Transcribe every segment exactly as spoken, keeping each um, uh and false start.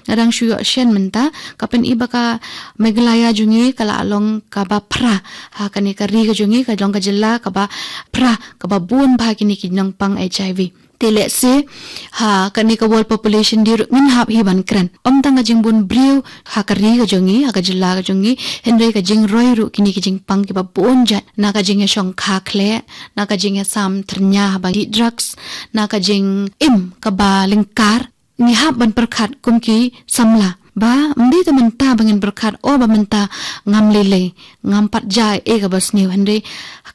Nga dang shu ïoh shen mynta, ka pyni ba ka Meghalaya jong ngi ka la long kaba phra ha kane ka ri ka jong ngi, ka long ka jylla kaba phra, kaba bun bha kine ki nongpang H I V. Te lehse ha kane ka World Population Day ruh ngin hap hi ban kren. Ym tang ka jingbun briew ha ka ri ka jong ngi, ha ka jylla ka jong ngi, hynrei ka jingroi ruh kine ki jingpang kiba bun jait, na ka jingïashongkha khleh, na ka jingïasam thyrnia haba dih drugs, na ka jingim kaba lyngkar. Ngi hap ban pyrkhat kum ki samla ba ym dei te mynta ba ngin pyrkhat, o ba mynta ngam lei lei, ngam pat jia ei kaba sniew, hynrei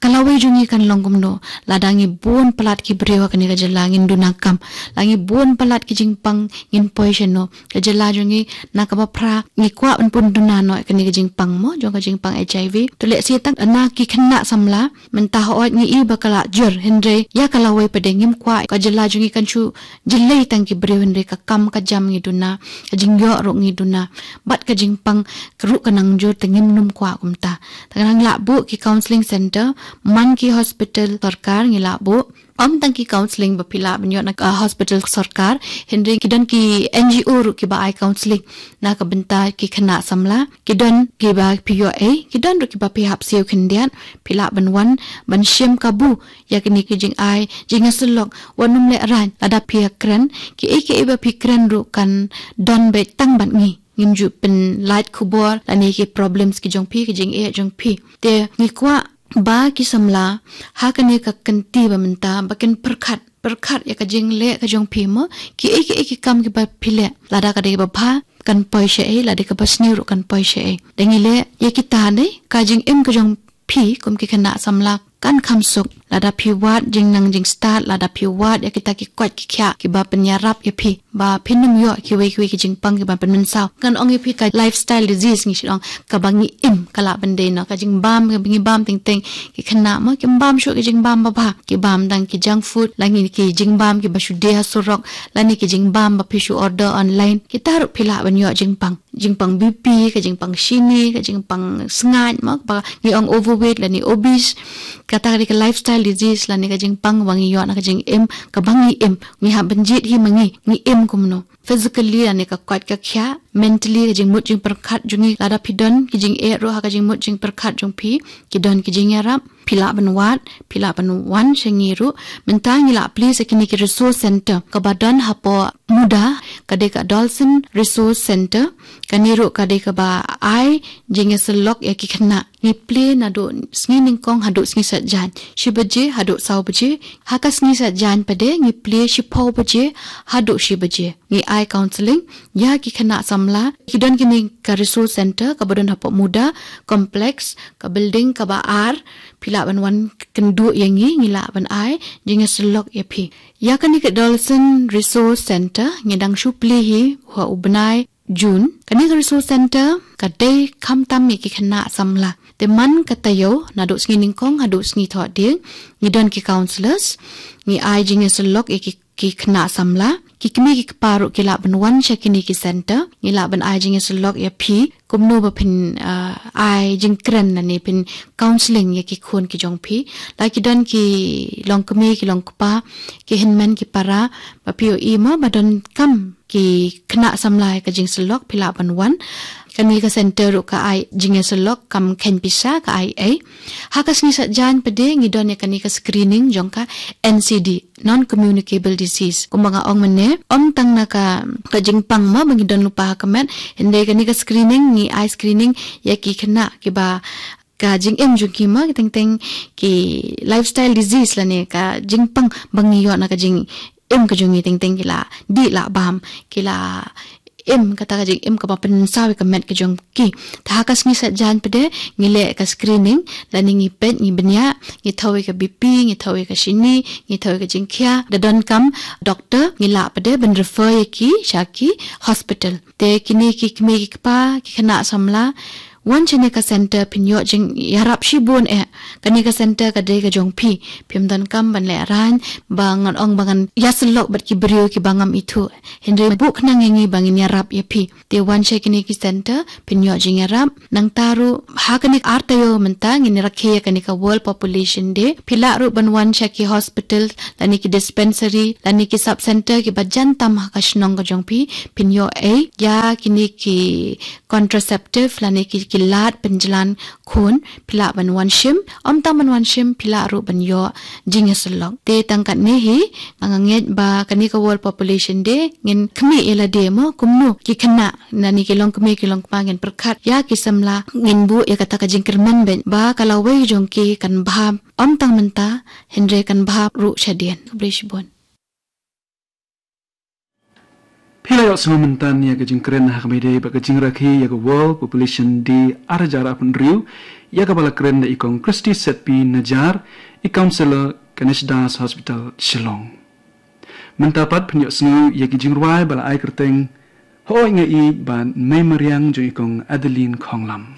ka lawei jong ngi kan long kumno lada ngi bun palat ki briew ha kane ka jylla ngin duna kam, la ngi bun palat ki jingpang ngin poi shano? Ka jylla jong ngi na kaba phra, ngi kwah ban pun duna noh kane ka jingpang mo, jong ka jingpang H I V. To lehse tang na ki khynnah samla mynta hooid ngi i ba ka la jur, hynrei ïa ka lawei pat de ngim kwah ka jylla jong ngi kan shu jyllei tang ki briew, hynrei ka kam ka jam ngi duna, ka jingïoh ruh ngi duna, bad ka jingpang ka ruh ka nang jur, te ngim nym kwah kumta. Te ka nang lah buh ki counselling center, man ki hospital sorkar ngi lah buh. Ym tang ki counselling ba phi lah ban ïoh na ka hospital sorkar, hynrei ki don ki N G O ruh kiba ai counselling na ka bynta ki khynnah samla. Ki don kiba phi ïoh ei, ki don ruh kiba phi hap siew khyndiat. Phi lah ban wan ban shim kabu ïa kine ki jingai jingïasyllok, wat nym lehraiñ. Lada phi ïakren, kiei kiei ba phi kren ruh kan don beit tang bad ngi. Ngin ju pynlait khubor lane ki problems ki jong phi, ki jingeh jong phi. Te ngi kwah ba ki samla ha kane ka kynti ba mynta ba kin pyrkhat, pyrkhat ïa ka jingleh ka jong phi mo, kiei kiei ki kam kiba phi leh, lada ka dei kaba bha kan poi sha ei, lada kaba sniew ruh kan poi sha ei. Da ngi leh ïa kita, dei ka jingim ka jong phi kum ki khynnah samla kan kham suk lada phi wad jingnang jingstad, lada phi wad ïa kita ki koit ki khiah kiba pynïarap ïa phi ba phin nym ïoh kiwei kiwei ki jingpang kiba pynmynsaw. Ngan ong ïa phi ka lifestyle disease ngi shu ong, kaba ngi im, ka lah ban dei na ka jingbam kaba ngi bam teng teng. Ki khynnah mo kim bam shuh ki jingbam ba bha, ki bam tang ki junk food, lane ki jingbam kiba shu die ha surok, lane ki jingbam ba phi shu order online. Kita ruh phi lah ban ïoh jingpang, jingpang B P, ka jingpang shini, ka jingpang sngaid mo, ba ngi ong overweight lane obese. Kata ka dei ka lifestyle disease lane ka jingpang ba ngi ïoh na ka jingim kaba ngi im. Ngi hap ban jied hi ma ngi, ngi im kumno physically lane ka koit ka khiah, mentally ka jingmut jingpyrkhat jong ngi. Lada phi don ki jingeh ruh ha ka jingmut jingpyrkhat jong phi, ki don ki jingïarap, phi lah ban wad, phi lah ban wan sha ngi ruh. Mynta ngi lah plie sha kine ki resource center kaba don hapoh MUDA, ka dei ka Adolescent Resource Center. Kane ruh ka dei kaba ai jingïasyllok ïa ki khynnah. Ngi plie naduh sngi nyngkong haduh sngi saitjaiñ, shi baje haduh saw baje. Ha ka sngi saitjaiñ pat de ngi plie shiphew baje haduh shi baje. Ngi ai counselling ïa ki khynnah samla. Ki don kine ka resource center kaba don hapoh MUDA complex, ka building kaba ar. Phi lah ban wan kynduh ïa ngi, ngi lah ban ai jingïasyllok ïa phi. Ïa kane ka Adolescent Resource Center ngi dang shu plie hi ha u bnai June. Kane ka resource center ka dei khamtam ïa ki khynnah samla. Te man ka taïew naduh sngi nyngkong haduh sngi thohdieng, ngi don ki counsellors, ngi ai jingïasyllok ïa ki, ki khynnah samla. Ki kmie ki kpa ruh ki lah ban wan sha kine ki center, ngi lah ban ai jingïasyllok ïa phi kumno ba phin, ah, ai jingkren lane phin counselling ïa ki khun ki jong phi. La ki don ki longkmie ki longkpa, ki hynmen ki para, ba phi ïohi mo ba donkam ki khynnah samla ïa ka jingïasyllok, phi lah ban wan. Kane ka center ruh ka ai jingïasyllok kam kheiñ pisa, ka ai ei. Ha ka sngi saitjaiñ pat de ngi don ïa kane ka screening jong ka N C D, non communicable disease. Kumba nga ong mynne, ym tang na ka, ka jingpang mo ba ngi don lypa ha ka met, hynrei kane ka screening ngi ai screening ïa ki khynnah kiba ka jingim jong ki mo, ki teng teng ki lifestyle disease lane ka jingpang ba ngi ïoh na ka jingim ka jong ngi teng teng, ki la dih la bam, ki la im kata ka jingim kaba pynsaw ïa ka met ka jong ki. Te ha ka sngi saitjaiñ pat de ngi leh ka screening, lane ngi peit, ngi bniah, ngi thew ïa ka B P, ngi thew ïa ka shini, ngi thew ïa ka jingkhia. Da donkam doctor ngi lah pat de ban refer ïa ki sha ki hospital. Te kine ki kmie ki kpa, ki khynnah samla, Wan shane ka center phin ïoh jingïarap shibun eh. Kane ka center ka dei ka jong phi. Phim donkam ban leh rang ba ngan ong ba ngan ïasyllok bad ki briew kiba ngam ithuh. Hynrei buh khnang ïa ngi ba ngin ïarap ïa phi. Te wan sha kine ki center phin ïoh jingïarap. Nangta ruh ha kane ka ar taïew mynta ngin rakhe ïa kane ka World Population Day. Phi lah ruh ban wan sha ki hospital lane ki dispensary lane ki sub center kiba jan tam ha ka shnong ka jong phi, phin ïoh ei ïa kine ki contraceptive lane ki, ki lad pynjlan khun. Phi lah ban wan shim, ym tang ban wan shim, phi lah ruh ban ïoh jingïasyllok. Te tang katne hi, nga ngeit ba kane ka World Population Day ngin khmih ïa lade mo, kumno ki khynnah lane ki longkmie ki longkpa ngin pyrkhat ïa ki samla, ngin buh ïa kata ka jingkyrmen bad ba ka lawei jong ki kan bha, ym tang mynta hynrei kan bha ruh shadien. Khublei shibun. Phi la ïohsngew mynta ïa ka jingkren ha kaba ïadei bad ka jingrakhe ïa ka World Population Day ar hajar arphew hynriew, ïa kaba la kren da i Kong Christy Setpi Najar, i Counsellor, Ganesh Das Hospital, Shillong. Mynta pat phin ïohsngew ïa ki jingrwai ba la ai kyrteng Hooid Nga Ïeit bad Mei Mariang jong i Kong Adeline Khonglam.